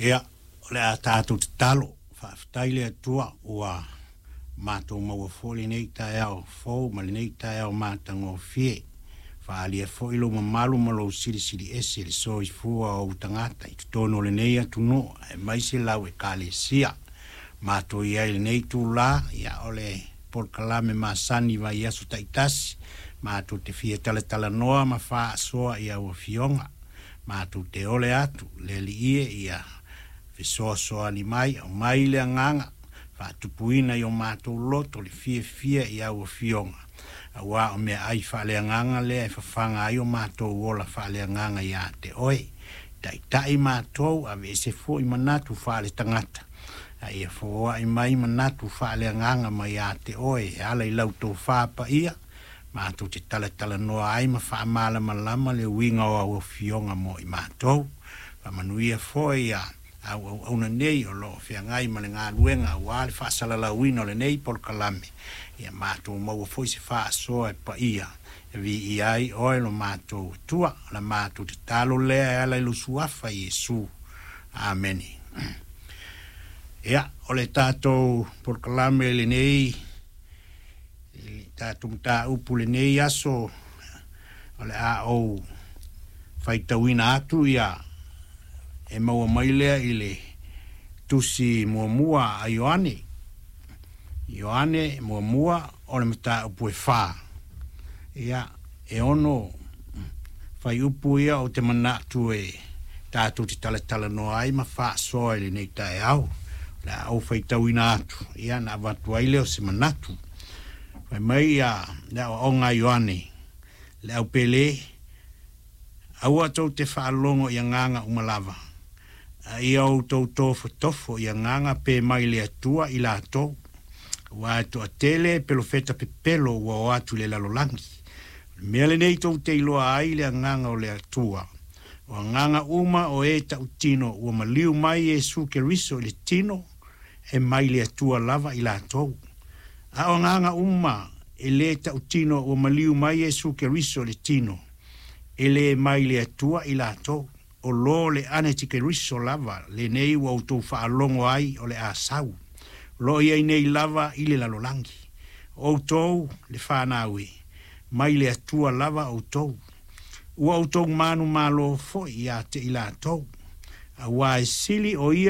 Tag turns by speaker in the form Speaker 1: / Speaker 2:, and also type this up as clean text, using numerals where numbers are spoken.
Speaker 1: Ia, o le a tatou tatalo. Faafetai le Atua ua matou maua foi lenei taeao fou ma lenei taeao matagofie. Faaalia foi lou mamalu ma lou silisili ese i le soifua o ou tagata i totonu o lenei atunuu aemaise lau Ekalesia. Matou i ai i lenei itulā, ia o le polokalame masani vaiaso taitasi, matou te fia talatalanoa ma faasoa i au afioga. Matou te ole atu le Alii e ia fesoasoani mai, aumai le agaga faatupuina i o matou loto le fiafia i au afioga, auā o meaai faaleagaga lea e fafaga ai o matou ola faaleagaga iā te oe. Taitai matou, aveese foi manatu faaletagata, a ia foai mai manatu faaleagaga mai iā te oe e ala i lau tofa paia, matou te talatalanoa ai ma faamalamalama le uiga o au afioga mo i matou. Faamanuia foi ia au auauna nei o lo o feagai ma le galuega aua le faasalalauina o lenei polokalame, ia matou maua foi se faasoa e paia e viia ai oe lo matou Atua. O la matou tatalo lea e ala i lou Suafa Iesu. Amene. Ia, o le tatou polokalame lenei, i le tatou mataupu i lenei aso, o le a ou faitauina atu ia e maua mai lea i le tusi muamua a Ioane. Ioane muamua o le mataupu e 4. Ia, e 6 fuaiupu ia ou te manatu e tatou te talatalanoa ai ma faasoa i lenei taeao. O le a ou faitauina atu, ia na avatu ai lea o se manatu. Fai mai ia le aoaoga a Ioane, le au pele, aua tou te faalogo i agaga uma lava, a ia outou tofotofo i agaga pe mai le Atua i latou, aua e toatele pelofeta pepelo ua o atu i le lalolagi. O le mea lenei tou te iloa ai le agaga o le Atua, o agaga uma o e tautino ua maliu mai Iesu Keriso i le tino, e mai le Atua lava i latou. A o agaga uma e lē tautino ua maliu mai Iesu Keriso i le tino, e lē mai le Atua i latou. O lo le Anetikeriso lava lenei ua outou faalogo ai o le a sau, o lo o i ai nei lava i le lalolagi. O outou le fanau e, mai le Atua lava outou. Ua outou manumalo foi ia te i latou, auā e sili o ia